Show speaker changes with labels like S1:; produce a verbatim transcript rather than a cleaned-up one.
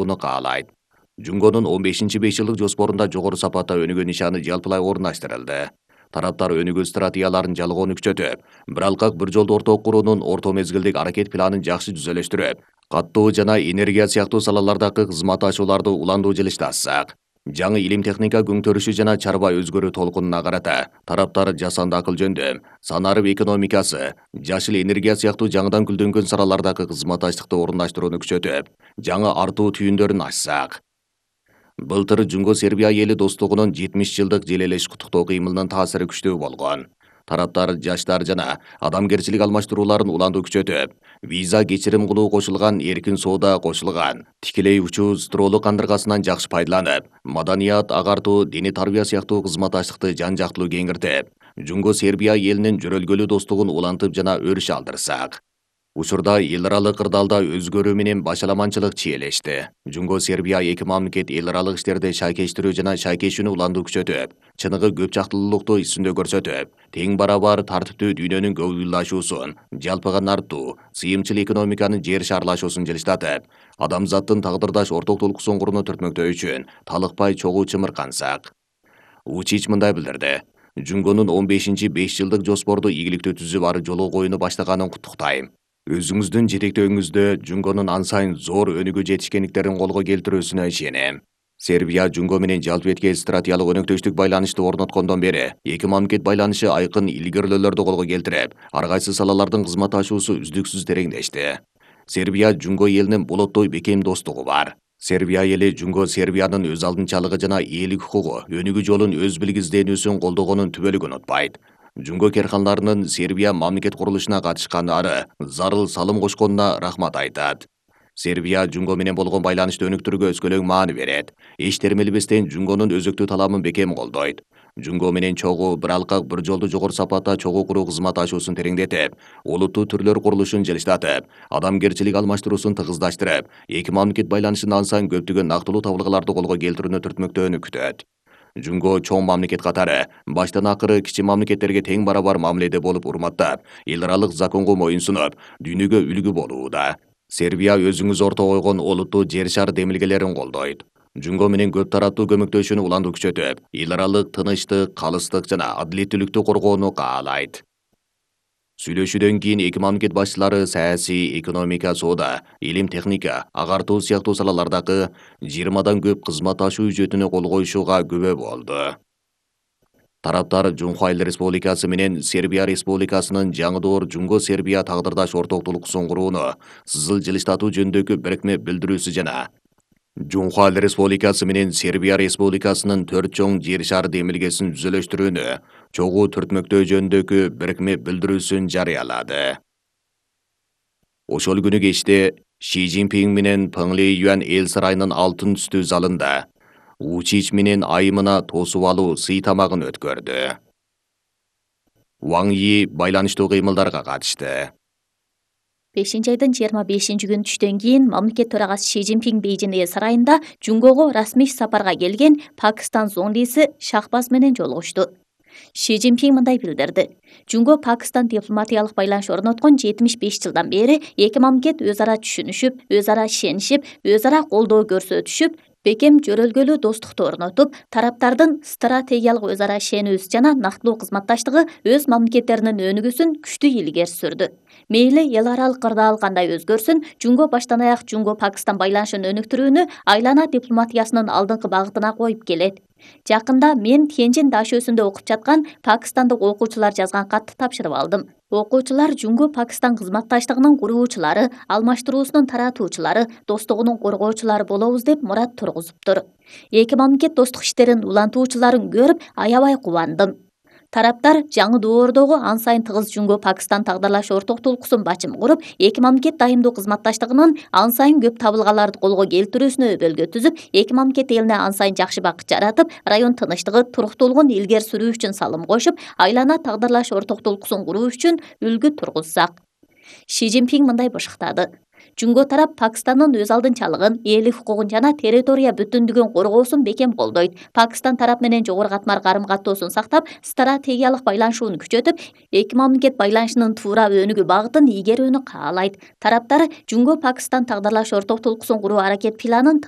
S1: Буну каалайт. Жунгонун он бешинчи беш жылдык жоспорунда жогору сапатта өнүгүү нишаны жалпылай орундаштырылды. Тараптар өнүгүү стратегияларын жалгоону күчөтүп, бир алкак бир жолду орток куруунун орто мезгилдик аракет планын жакшы түзөлөштүрүп, каттоо жана энергия сыяктуу салалардагы кызматташууларды уландуу жылыштасак. Жаңы илим техника күңтөрүшү жана чарба өзгөрүү толкунуна карата тараптар жасанды акыл жөндөм, санарып экономикасы, жашыл энергия сыяктуу жаңыдан гүлдөнгөн салалардагы кызматташтыкты орундаштырууну күчөтүп, жаңы артуу түйүндөрүн ачсак. Былтыр Жунго Сербия эли достугунун жетимиш жылдык желелеш куттуктоо кыймылынын таасири күчтүү болгон. Тараптар жаштар жана адамгерчилик алмаштырууларын уландуу күчөтүп, виза кечирим кылуу кошулган, эркин соода кошулган, тикелей учуу стролу кандыргасынан жакшы пайдаланып, маданият, агартуу, диний тарбия сыяктуу кызматташтыкты жан-жактылуу кеңиртип, Жунго Сербия элинин жөрөлгөлүү достугун улантып жана өрүш алдырсак. Учурда эл аралык кырдаалда өзгөрүү менен башаламанчылык чиелешти. Жунго Сербия эки мамлекет эл аралык иштерде шайкештирүү жана шайкешүүнү уландуу күчөтүп, чыныгы көп жактылуулукту исүндө көрсөтүп, тең барабар тартиптүү дүйнөнүн көбүйлашуусун, жалпыга нартуу, сыйымчыл экономиканын жер шарлашуусун жылыштатып, адамзаттын тагдырдаш орток толкусун курууну түртмөктөө үчүн талыкпай чогуу чымыркансак. Учич мындай билдирди. Жунгонун он бешинчи беш жылдык жоспорду ийгиликтүү түзүп ары жолу коюуну баштаганын куттуктайм. Өзүңүздүн жетектөөңүздө Жунгонун ан сайын зор өнүгүү жетишкендиктерин колго келтирүүсүнө ишенем. Сербия Жунго менен жалпы стратегиялык өнөктөштүк байланышты орноткондон бери эки мамлекет байланышы айкын илгерилөөлөрдү колго келтирип, ар кайсы салалардын кызматташуусу үздүксүз тереңдешти. Сербия Жунго элинин болоттой бекем достугу бар. Сербия эли Жунго Сербиянын өз алдынчалыгы жана ээлик укугу, өнүгүү жолун өз билгизденүүсүн колдогонун түбөлүк унутпайт. Жунго керканларынын Сербия мамлекет курулушуна катышкандары зарыл салым кошконуна рахмат айтат. Сербия Жунго менен болгон байланышты өнүктүрүүгө өскөлөң маани берет. Эч термелебестен Жунгонун өзөктүү таламын бекем колдойт. Жунго менен чогуу бир алкак бир жолду жогору сапатта чогуу куруу кызматташуусун тереңдетип, олуттуу түрлөр курулушун жылыштатып, адамгерчилик алмаштыруусун тыгыздаштырып, эки мамлекет байланышын ан сайын көптөгөн нактылуу табылгаларды колго келтирүүнү түртмөктөөнү күтөт. Жунго чоң мамлекет катары баштан акыры кичи мамлекеттерге тең барабар мамиледе болуп урматтап, эл аралык законго моюнсунуп, дүйнөгө үлгү болууда. Сербия өзүңүз орто койгон олуттуу жер шар демилгелерин колдойт. Жунго менен көп тараптуу көмөктөшүүнү уландуу күчөтүп, эл аралык тынычтык, калыстык жана адилеттүүлүктү коргоону каалайт. Сүйлөшүүдөн кийин эки мамлекет башчылары саясий, экономика, соода, илим техника, агартуу сыяктуу салалардагы жыйырмадан көп кызматташуу үжөтүнө кол коюшууга күбө болду. Тараптар Жумхайлы Республикасы менен Сербия Республикасынын жаңы доор Жунго Сербия тагдырдаш орток толкусун курууну сызыл жылыштатуу жөнүндөгү бирикме билдирүүсү жана Жумхайлы Республикасы менен Сербия Республикасынын төрт чоң жер шар демилгесин түзөлөштүрүүнү чогуу түртмөктөө жөнүндөгү бирикме билдирүүсүн жарыялады. Ошол күнү кечте Ши Цзиньпин менен Пeng Лейюан эл сарайынын алтын түстүү залында Учич менен айымына тосуп алуу сый тамагын өткөрдү. Ван Йи байланыштуу кыймылдарга катышты.
S2: бешинчи айдын жыйырма бешинчи күнү түштөн кийин мамлекет төрагасы Ши Цзиньпин Бейжин эл сарайында Жунгого расмий сапарга келген Пакистан зондиси Шахбаз менен жолугушту. Ши Цзиньпин мындай билдирди. Жунго Пакистан дипломатиялык байланыш орноткон жетимиш беш жылдан бери эки мамлекет өз ара түшүнүшүп, өз ара ишенишип, өз ара колдоо көрсөтүшүп, бекем жөрөлгөлүү достукту орнотуп, тараптардын стратегиялык өз ара ишенүүсү жана нактылуу кызматташтыгы өз мамлекеттеринин өнүгүүсүн күчтүү илгери сүрдү. Мейли эл аралык кырдаал кандай өзгөрсүн, Жунго баштан аяк Жунго Пакистан байланышын өнүктүрүүнү айлана дипломатиясынын алдыңкы багытына коюп келет. Жакында мен Тяньжин даш өсүндө окуп жаткан пакистандык окуучулар жазган катты тапшырып алдым. Окуучулар Жунго Пакистан кызматташтыгынын куруучулары, алмаштыруусунун таратуучулары, достугунун коргоочулары болобуз деп мурат тургузуптур. Эки мамлекет достук иштерин улантуучуларын көрүп аябай кубандым. Тараптар жаңы доордогу ан сайын тыгыз Жунго Пакистан тагдырлаш орток толкусун бачым куруп, эки мамлекет дайымдуу кызматташтыгынын ан сайын көп табылгаларды колго келтирүүсүнө өбөлгө түзүп, эки мамлекет элине ан сайын жакшы бакыт жаратып, район тынычтыгы, туруктуулугун илгери сүрүү үчүн салым кошуп, айлана тагдырлаш орток толкусун куруу үчүн үлгү тургузсак. Ши Цзиньпин мындай бышыктады. Жунго тарап Пакистандын өз алдынчалыгын, ээлик укугун жана территория бүтүндүгүн коргоосун бекем колдойт. Пакистан тарап менен жогору катмар карым-каттоосун сактап, стратегиялык байланышууну күчөтүп, эки мамлекет байланышынын туура өнүгүү багытын ийгерүүнү каалайт. Тараптар Жунго Пакистан тагдырлаш орток толкусун куруу аракет планын